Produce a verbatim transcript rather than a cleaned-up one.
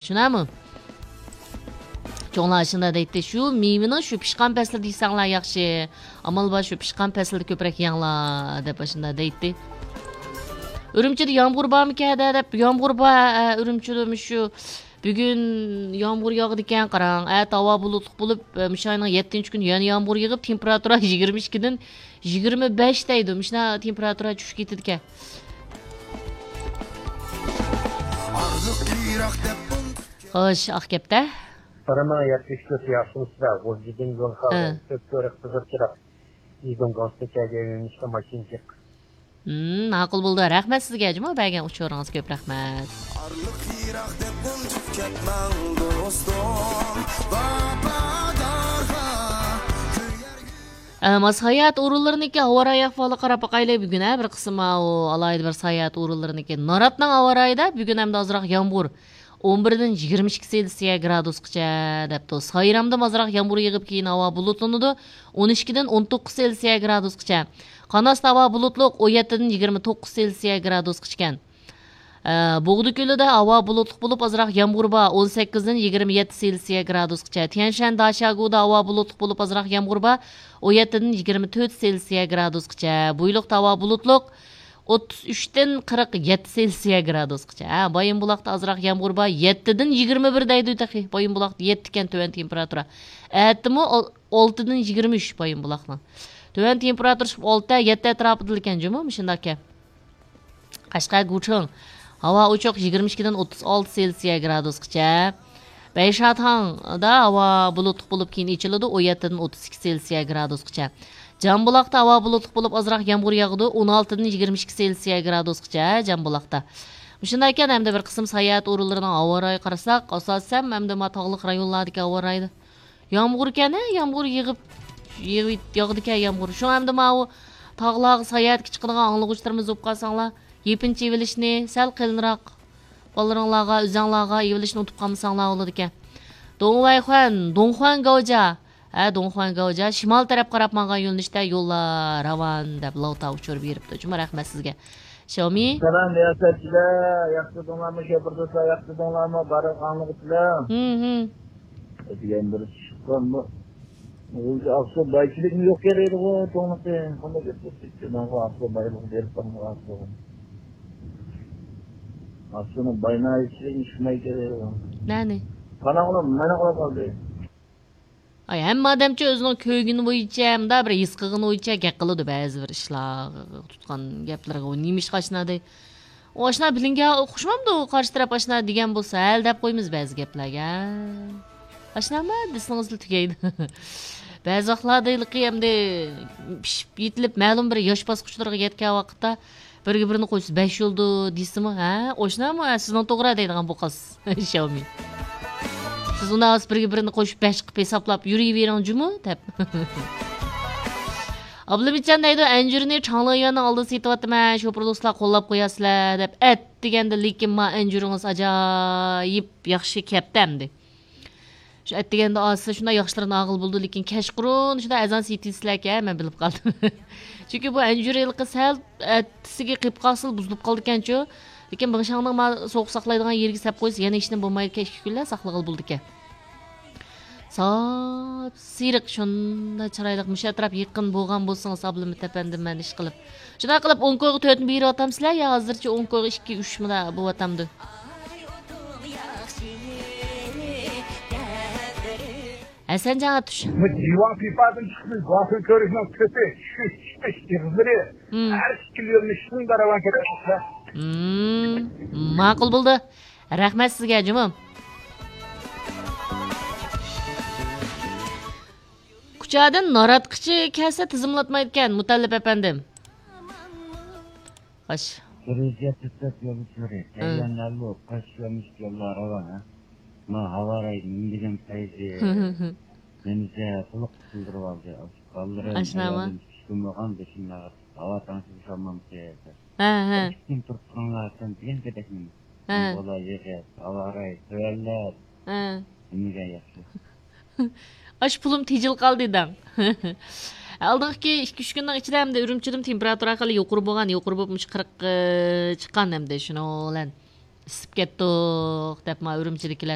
شۇنداقمۇ؟ چوڭلار شۇنداق دەيتتى، شۇ مېۋىنىڭ شۇ پىشقان پەسلىدە يېسەڭلار ياخشى. ئامال بار شۇ پىشقان پەسلىدە كۆپرەك يەڭلار، دەپ ئاشۇنداق دەيتتى. ئۈرۈمچىدە يامغۇر بارمىكەن دە، دەپ، يامغۇر بار، ئە، ئۈرۈمچىدە مۇشۇ بۈگۈن يامغۇر ياغىدىكەن، قاراڭ. ئەتە ھاۋا بۇلۇتلۇق بولۇپ، ئە، مۇشۇ ئاينىڭ يەتتىنچى كۈنى يەنە يامغۇر يېغىپ، تېمپېراتۇرا يىگىرمە ئىككىدىن يىگىرمە بەش دەيدۇ. مۇشۇنداق تېمپېراتۇرا چۈشۈپ كېتىدىكەن. خوش، ئاق كەپتە. قارىما، يەتمىش تۆت ياخشىمۇسىلەر؟ غۇلجىدىن يول خەۋىرى. ھە. كۆك كۆرۈك قىزىل چىراغ. ئىزدىن گاڭسىچەگە يۆنىلىشتە ماشىنا جىق. ھىم، ماقۇل بولدى. رەھمەت سىزگە، جۇمۇ بەرگەن ئۇچۇرىڭىزغا كۆپ رەھمەت. ئارىلىق يىراق دەپ ئۇنتۇپ كەتمەڭ، دوستۇم. ۋاپادارغا كۆيەر. ئە، ماس ساياھەت ئورۇنلىرىنىڭكى ھاۋا رايى ئەھۋالىغا قاراپ باقايلى. بۈگۈن، ھە، بىر قىسىم، ئاۋۇ، ئالاھىدە بىر ساياھەت ئورۇنلىرىنىڭكى. ناراتنىڭ ھاۋا رايىدا بۈگۈن ھەمدە ئازراق يامغۇر. ئون بىردىن يىگىرمە ئىككى سېلسىيە گرادۇسقىچە دەپتۇ. سايرامدا ئازراق يامغۇر يېغىپ، كېيىن ھاۋا بۇلۇتلىنىدۇ. ئون ئىككىدىن ئون توققۇز سېلسىيە گرادۇسقىچە. قاناستا ھاۋا بۇلۇتلۇق، ئون يەتتىدىن يىگىرمە توققۇز سېلسىيە گرادۇسقىچىكەن. ئە، بوغدا كۆلىدە ھاۋا بۇلۇتلۇق بولۇپ، ئازراق يامغۇر بار، ئون سەككىزدىن يىگىرمە يەتتە سېلسىيە گرادۇسقىچە. تيەنشەن داشياگۇدا ھاۋا بۇلۇتلۇق بولۇپ، ئازراق يامغۇر بار، ئون يەتتىدىن يىگىرمە تۆت سېلسىيە گرادۇسقىچە. بۇيلۇقتا ھاۋا بۇلۇتلۇق، ئوتتۇز ئۈچتىن قىرىق يەتتە سېلسىيە گرادۇسقىچە. ھە، بايىنبۇلاقتا ئازراق يامغۇر بار، يەتتىدىن يىگىرمە بىر دەيدۇ تېخى. بايىنبۇلاقتا يەتتىكەن تۆۋەن تېمپېراتۇرا. ئەتىمۇ ئال-، ئالتىدىن يىگىرمە ئۈچ بايىنبۇلاقنىڭ. تۆۋەن تېمپېراتۇرا چىقىپ ئالتە، يەتتە ئەتراپىدىلىكەن جۇمۇ، مۇشۇنداقكەن. قەشقەر گۇچېڭ. ھاۋا ئوچۇق، يىگىرمە ئىككىدىن ئوتتۇز ئالتە سېلسىيە گرادۇسقىچە. بەيشاتاڭدا ھاۋا بۇلۇتلۇق بولۇپ، كېيىن ئېچىلىدۇ، ئون يەتتىدىن ئوتتۇز ئىككى سېلسىيە گرادۇسقىچە. جامبۇلاقتا ھاۋا بۇلۇتلۇق بولۇپ، ئازراق يامغۇر ياغىدۇ، ئون ئالتىدىن يىگىرمە ئىككى سېلسىيە گرادۇسقىچە جامبۇلاقتا. مۇشۇنداق ئىكەن، ھەمدە بىر قىسىم ساياھەت ئورۇنلىرىنىڭ ھاۋا رايىغا قارىساق، ئاساسەن، ھەمدە ما تاغلىق رايونلاردىكى ھاۋا رايى. يامغۇركەن، ھە، يامغۇر يېغىپ، يېغىپ، ياغىدىكەن يامغۇر. شۇڭا ئەمدى ماۋۇ تاغلارغا ساياھەتكە چىقىدىغان ئاڭلىغۇچىلىرىمىز بولۇپ قالساڭلار، يېپىنچا يېۋېلىشنى سەل قېلىنراق بالىلىرىڭلارغا، ئۆزەڭلارغا يېۋېلىشنى ئۇنتۇپ قالمىساڭلار بولىدىكەن. دۇڭۋەيخۇەن، دۇڭخۇەن گاۋجيا. ھە، دۇڭخۇەن گاۋجيا، شىمال تەرەپ قاراپ ماڭغان يۆنىلىشتە يوللار راۋان، دەپ لاۋتا ئۇچۇر بېرىپتۇ. جۇمۇ رەھمەت سىزگە. شياۋمى. سالام رىياسەتچىلەر، ياخشىدىڭلارمۇ؟ شوپۇر دوستلار، ياخشىدىڭلارمۇ؟ بارلىق ئاڭلىغۇچىلار. ھىم، ھىم. دېگەن بىر چىققان بۇ. ئۆزى ئاقسۇ بايچىلىكمۇ يوق كېرەيدىغۇ، توڭلىقى. قانداق گەپ بولسا، ماڭا ئاقسۇ بايلىقى بېرىپ قالمىغان ئاقسۇ. ئاقسۇنىڭ باينايچىلىكى چىقماي كېرەيدىغۇ. نەنى؟ قاراڭغۇلار، مانا قاراپ قالدى. ئاي، ھەممە ئادەمچۇ ئۆزىنىڭ كۆرگىنى بويىچە، مۇنداق بىر ھېس قىلغىنى بويىچە گەپ قىلىدۇ بەزى بىر ئىشلارغا تۇتقان گەپلىرىغا. ئۇ نېمە ئىش ئاشنا دەي؟ ئۇ ئاشنا بىلىنگەن ئوخشىمامدۇ؟ قارشى تەرەپ ئاشنا دېگەن بولسا، ھەل دەپ قويىمىز بەزى گەپلەرگە. ئاشنامە دېسىڭىزلا تۈگەيدۇ. بەزى ۋاقىتلاردا ھېلىقى ئەمدى پىشىپ يېتىلىپ، مەلۇم بىر ياش باسقۇچلىرىغا يەتكەن ۋاقىتتا، بىرگە بىرنى قوشسا بەش يولدۇ دېسىمۇ، ھە، ئوشنامۇ، ھە، سىزنىڭ توغرا دەيدىغان بۇ قىز. شياۋمى. سىز ئۇنداق بولسا بىرگە بىرنى قوشۇپ بەش قىلىپ ھېسابلاپ يۈرۈۋېرىڭ جۇمۇ دەپ. ئابلىمىتجان دەيدۇ، ئەنجۈرنى چاڭلىيۈەننىڭ ئالدىدا سېتىۋاتىمەن، شوپۇر دوستلار قوللاپ قوياسىلەر دەپ. ئەتىگەندە، لېكىن ما ئەنجۈرىڭىز ئاجايىپ ياخشى كەپتۇ ئەمدى. شۇ ئەتىگەندە ئالسا شۇنداق ياخشىلىرىنى ئالغىلى بولىدۇ، لېكىن كەچقۇرۇن شۇنداق ئەزان سېتىۋېتىسىلەركەن، مەن بىلىپ قالدىم. چۈنكى بۇ ئەنجۈر ھېلىقى سەل ئەتىسىگە قېلىپ قالسىلا بۇزۇلۇپ قالىدىكەنچۇ. لېكىن بىڭشاڭنىڭ ما سوغۇق ساقلايدىغان يېرىگە سەپ قويسا يەنە ھېچنېمە بولمايدىكەن، ئىككى كۈنلەر ساقلىغىلى بولىدىكەن. ساپسېرىق شۇنداق چىرايلىق، مۇشۇ ئەتراپ يېقىن بولغان بولسىڭىز، ئابلىمىت ئەپەندىم، مەن ئىشقىلىپ. شۇنداق قىلىپ ئونكويغا تۆتنى بېرىۋاتامسىلەر يا ھازىرچە ئونكويغا ئىككى، ئۈچ مۇنداق بولۇۋاتامدۇ؟ ھەسەنجان ئاتۇش. بۇ دىۋان پىپادىن چىقىپ، گۇاخۇن كۆرۈشنىڭ تۆتى، چۈشۈش، چىقىش ئېغىزلىرى، ھىم، ھەر ئىككى يۆنىلىش شۇنداق راۋان كېتىۋاتىدۇ. ھىم، ماقۇل بولدى. رەھمەت سىزگە، جۇمۇ. كۇچادىن ناراتقىچە كەلسە تىزىملاتمايدىكەن، مۇتەللىپ ئەپەندىم. خوش. بىر يۈز يەتمىش تۆت يولۇچىلىرى، ھە، تەييارلىنىۋالۇ، قاش يوللار راۋان، ھە؟ ما ھاۋا رايى نېمە دېگەن پەيزى. نېمىسە قۇلۇق قىلدۇرۇۋالدى. بالىلىرىم ئاشۇنداقمۇ؟ ئايالىم چۈشكۈن بولغان، بېشىمنى ئاغرىتىپ، ھاۋا تەڭشىپ ئۇشالمامسىز؟ ھە، ھە. ئىككى كۈن تۇرۇپ تۇرۇڭلار، سەن دېگەن گېپەكنى. ھە. بۇ بالا يېغىپ، ھاۋا رايى تۆۋەنلەپ، ھە، نېمىگە ياخشى. ئاشۇ پۇلۇم تېجىلىپ قالدى دەڭ. ئالدىنقى ئىككى، ئۈچ كۈننىڭ ئىچىدە ئەمدى ئۈرۈمچىدىمۇ تېمپېراتۇرا خېلى يۇقىرى بولغان، يۇقىرى بولۇپ مۇشۇ قىرىققا چىققان ئەمدى شۇنىڭ بىلەن. پىسىپ كەتتۇق دەپ، ما ئۈرۈمچىدىكىلەر